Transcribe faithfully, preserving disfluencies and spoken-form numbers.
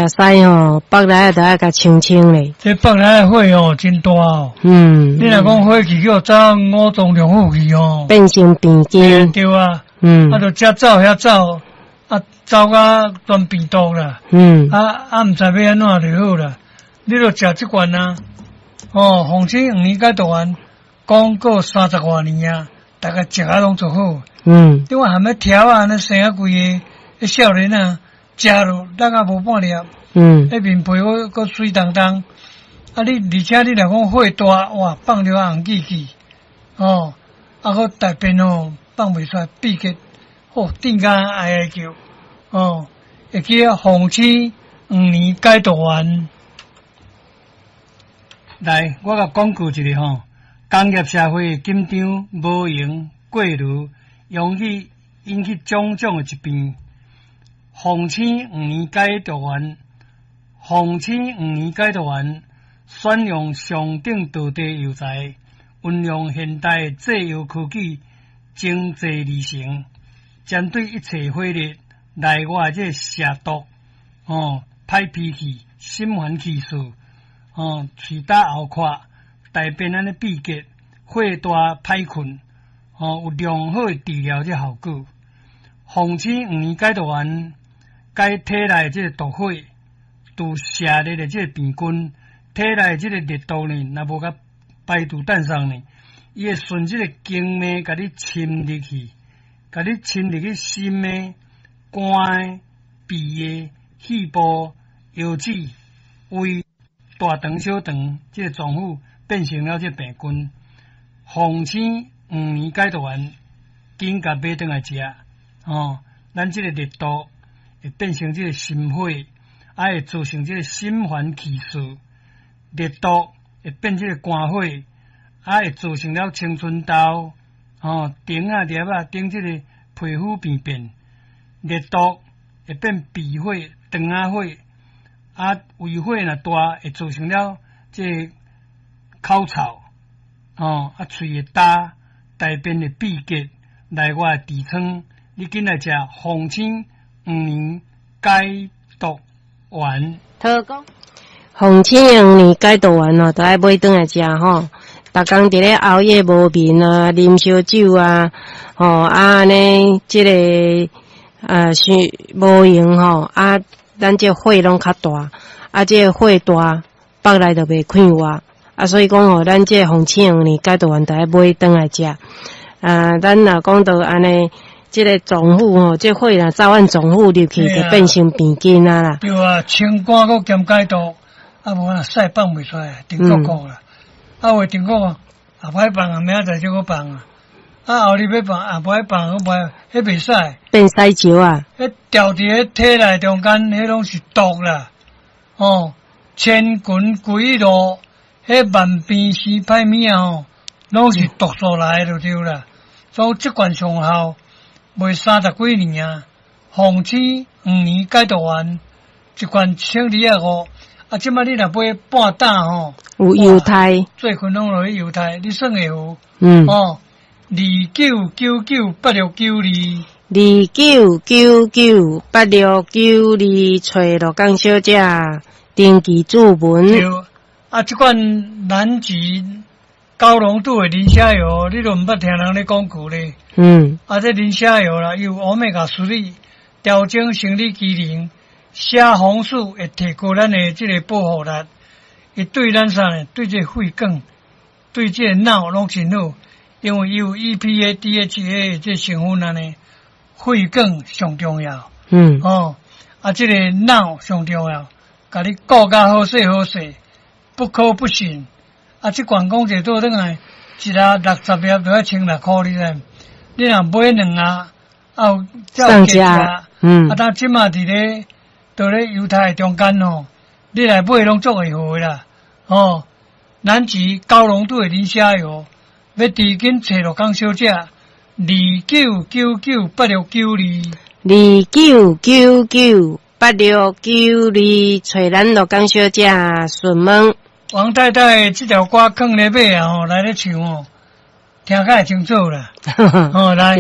屎吼，腹內著愛共清清咧。這腹內的火哦，真大哦。嗯。你若講火氣叫走五臟六腑去哦，變成病菌。對啊。嗯。啊，就這走遐走，啊，走甲全病毒啦。嗯。啊啊，毋知欲按怎就好啦。你著食這罐啊，哦，鳳青黃連解毒丸，講過三十外年啊，逐家食啊攏足好。嗯。你看含彼條仔按呢生啊規个，彼少年啊，食落力啊無半粒。嗯。彼面皮閣閣媠當當。啊你，而且你若講火大，哇，放著紅記記，哦，啊閣大便哦放袂出來，秘結，哦，頂甲哀哀叫，哦，會記得鳳青黃連解毒丸。來，我共廣告一下吼，工業社會緊張、無閒、過勞，容易引起種種的疾病。鳳青黃連解毒丸，鳳青黃連解毒丸，選用上等道地藥材，運用現代製藥科技精製而成，針對一切火熱、內外這邪毒，哦，歹脾氣、心煩氣躁。哦，喙焦喉渴，大便按呢秘結，火大歹睏，哦，有良好的治療這效果。鳳青黃連解毒丸，解體內這個毒火，除邪熱的這個病菌，體內這個熱毒呢，若無共排除散送呢，伊會順這個經脈，共你侵入去，共你侵入去心的、肝的、脾的、肺部、腰子、胃。大腸、小腸，這個臟腑變成了這個病菌。鳳青黃連解毒丸，緊共買轉來食，哦，咱這個熱毒會變成這個心火，啊會造成這個心煩氣躁。熱毒會變這個肝火，啊會造成了青春痘，哦，腸仔粒仔頂這個皮膚病變。熱毒會變脾火、腸仔火。啊，胃火若大，會造成了這個口臭，哦，啊，喙會焦，大便會秘結，內外痔瘡，你緊來食鳳青黃連解毒丸。頭講鳳青黃連解毒丸哦，都愛買轉來食吼。逐工佇咧熬夜無眠啊，啉燒酒啊，吼啊按呢，這個啊，傷無閒吼啊。咱這火攏較大，啊，這個火大，腹內就袂快活，啊，所以講吼，咱這個鳳青黃連解毒丸，著愛買轉來食。啊，咱若講到按呢，這個臟腑吼，這個火若走按臟腑入去，就變成病菌啊啦。對啊，清肝閣兼解毒，啊無啊屎放袂出來，定國國啦。啊有定國也無愛放啊，明仔載再閣放啊。啊後日欲放，也無愛放，閣無，彼袂使。變屎石啊！彼牢佇彼體內中間，彼攏是毒啦。哦，千群歸路，彼萬病生歹物仔吼，攏是毒素來的就對啦。所以這罐上效，賣三十幾年啊。鳳青黃連解毒丸，一罐一千二仔五。啊，這擺你若買半擔吼，有猶太，最近攏落去猶太，你算會有？嗯。哦，二九九九八六九二，二九九九八六九二，揣鹿港小姐登記注文。對，啊，這款南極高濃度的磷蝦油，你都毋捌聽人咧廣告咧。嗯。啊，這磷蝦油啦，有歐米伽三調整生理機能，蝦紅素會提高咱的這個保護力，伊對咱啥呢？對這個血管，對這個腦攏真好。因為伊有 E P A、D H A 的這成分按呢，血管上重要。嗯。哦，啊，這個腦上重要，共你顧甲好勢好勢，不可不信。啊，這罐講者倒轉來，一盒六十粒就愛千六箍，你知？你若買兩盒，啊有才有加價。嗯。啊，當這馬佇咧，佇咧猶太中間吼，你來買攏足會好的啦。哦，南極高濃度的磷蝦油。欲佇緊揣鹿港小姐，二九九九八六九二，二九九九八六九二，揣咱鹿港小姐詢問。王太太這條歌囥咧尾啊吼，來咧唱哦，聽較會清楚啦。哦，來。